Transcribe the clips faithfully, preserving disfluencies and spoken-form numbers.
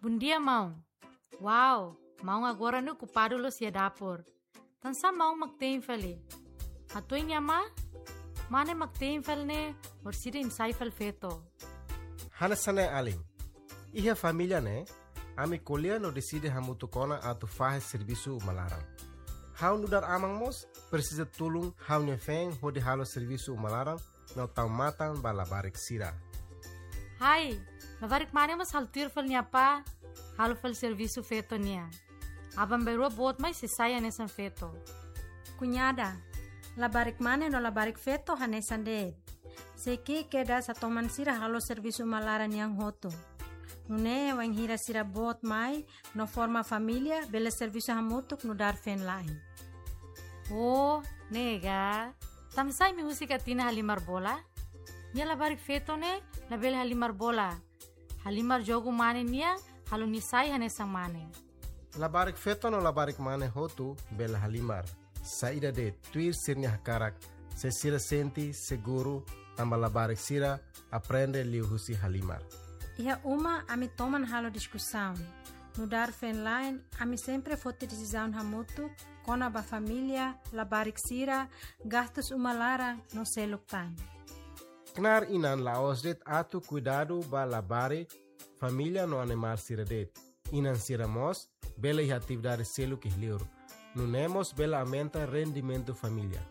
Bondia, maun. Wow, maun agora ne'e okupadu loos iha dapur. Tansá maun mak te'in fali? Hatuin nia amá, mane mak te'in fali ne'e, orsida imi sai fali feto. Hanesan ne'e alin. Iha família ne'e, ami ko'alia no deside hamutuk ona atu fahe servisu uma laran. Ha'u nu'udar aman mós presiza tulun ha'u-nia feen hodi halo servisu uma laran no tau matan ba labarik sira. Hai, labarik mane mós halo tuir fali nia apá, halo fali servisu feto nian. Aban-bainrua boot mai sei sai hanesan feto. Kuñada, labarik mane no labarik feto hanesan de'it. Sei ki'ik kedas hatoman sira halo servisu uma laran nian hotu. Nune'e wainhira sira boot mai no forma família, bele servisu hamutuk nu'udar feen-la'en. Oh, ne'e ka. Tansá imi husik Atina halimar bola? Nia labarik feto ne'e labele halimar bola. Halimar jogu mane nian, halo nia sai hanesan mane. Labarik feto no labarik mane hotu bele halimar. Saida de'it, tuir sira-nia hakarak, se sira sente seguru, tanba labarik sira aprende liuhusi halimar. Iha uma ami toman halo diskusaun. Nu'udar feen-la'en, ami sempre foti desizaun hamutuk kona-ba família, labarik sira, gastus uma laran no seluk tan. Knaar inan la'ós de'it atu kuidadu ba labarik, família no animál sira de'it. Inan sira mós bele iha atividade seluk iha li'ur. Nune'e mós bele aumenta rendimentu família.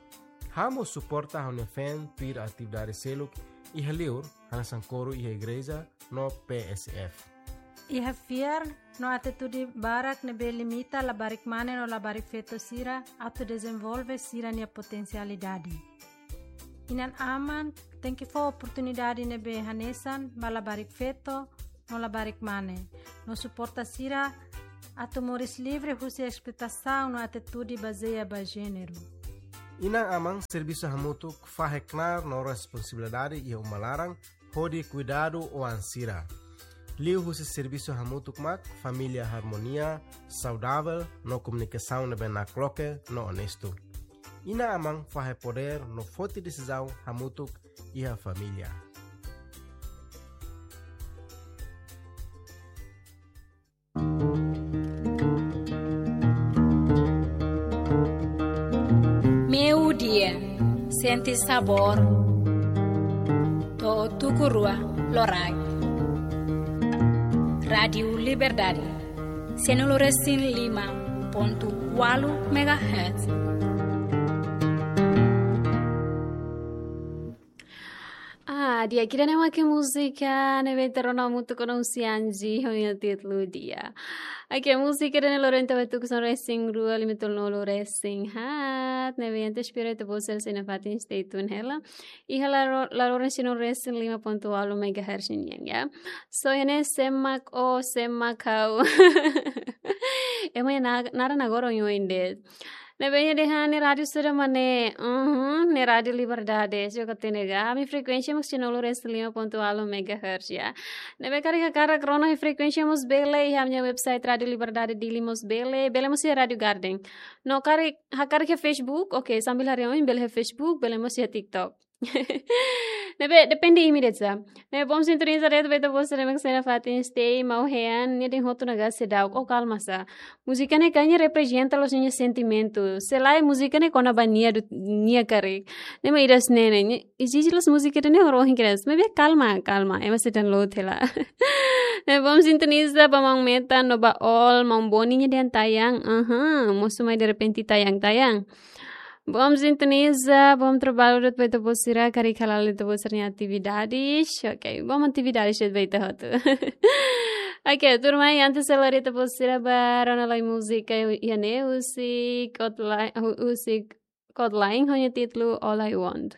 Ha'u mós suporta ha'u-nia feen tuir atividade seluk iha li'ur, hanesan koru iha igreja no P S F. Iha fiar no atitude barak ne'ebé limita labarik mane no labarik feto sira atu dezenvolve sira-nia potensialidade. Inan-aman tenke fó oportunidade ne'ebé hanesan ba labarik feto no labarik mane, no suporta sira atu moris livre husi esploitasaun no atitude bazeia ba jéneru. Inan-aman servisu hamutuk fahe knaar no responsabilidade iha uma laran hodi kuidadu oan sira. Liuhusi servisu hamutuk mak família harmonia, saudavel no komunikasaun ne'ebé nakloke no onestu. Inan-aman fahe podér no foti desizaun hamutuk iha família. Meio-dia, sente sabor. To'o tuku rua loraik. Rádiu Liberdade, sianulu resin lima pontu ualu megahertz. Ah, di'ak, ida-ne'e mak múzika ne'ebé ita rona hamutuk ona husi Anji, ho nia títulu Dia. Oke, múzika ida-ne'e loron ita bá tuku son resin rua lima tolunulu resin haat, ne'ebé ita espera ita-boot sira sei nafatin stay tune hela. Iha laro-, laloran sianulu resin lima pontu ualu megahertz nian, ya. So, iha ne'e sé mak ó, sé mak ha'u. Ema nia na-, naran agora oioin de'it. Ne'ebé nia dehan ne'e rádiu sira mak ne'e, uhum, ne'e Rádiu Liberdade, se ka tene ga. Ami frekuénsia mak sianulu resin lima pontu ualu megahertz, ya. Ne'ebé karik hakarak rona iha frekuénsia mós bele, iha ami-nia website Rádiu Liberdade Dili mós bele, bele mós iha Rádiu Garden. No karik, hakarak iha Facebook, oke, sambil haree oin bele iha Facebook, bele mós iha TikTok. Ne'ebé depende imi de'it sá. Ne'ebé bom sintoniza de'it ba ita-boot sira mak sei nafatin stay, maun Hean, nia dehan hotu ne'e ka seidauk, ó kalma sá. Múzika ne'e kayaknya reprezenta loos nia sentimentu. Se lae múzika ne'e kona-ba nia de'it, nia karik. Ne'e mak ida-ne'e ne'e, nia ezije loos múzika ida-ne'e horibainhira. Maibé kalma, kalma, ema sei download hela. Ne'ebé bom sintoniza ba maun Metan no ba Ol, maun Boni nia dehan tayang, aha, mosu mai derrepente tayang, tayang. Bom sintoniza, bom trabalho de'it ba ita-boot sira, karik hala'o ita-boot sira-nia atividades. Ok, bom atividades de'it ba ita hotu. Ok, tuirmai, antes hela ita-boot sira bá rona lai múzika iha ne'e husik Kodaline, hu-, husik Kodaline ho nia títulu All I Want.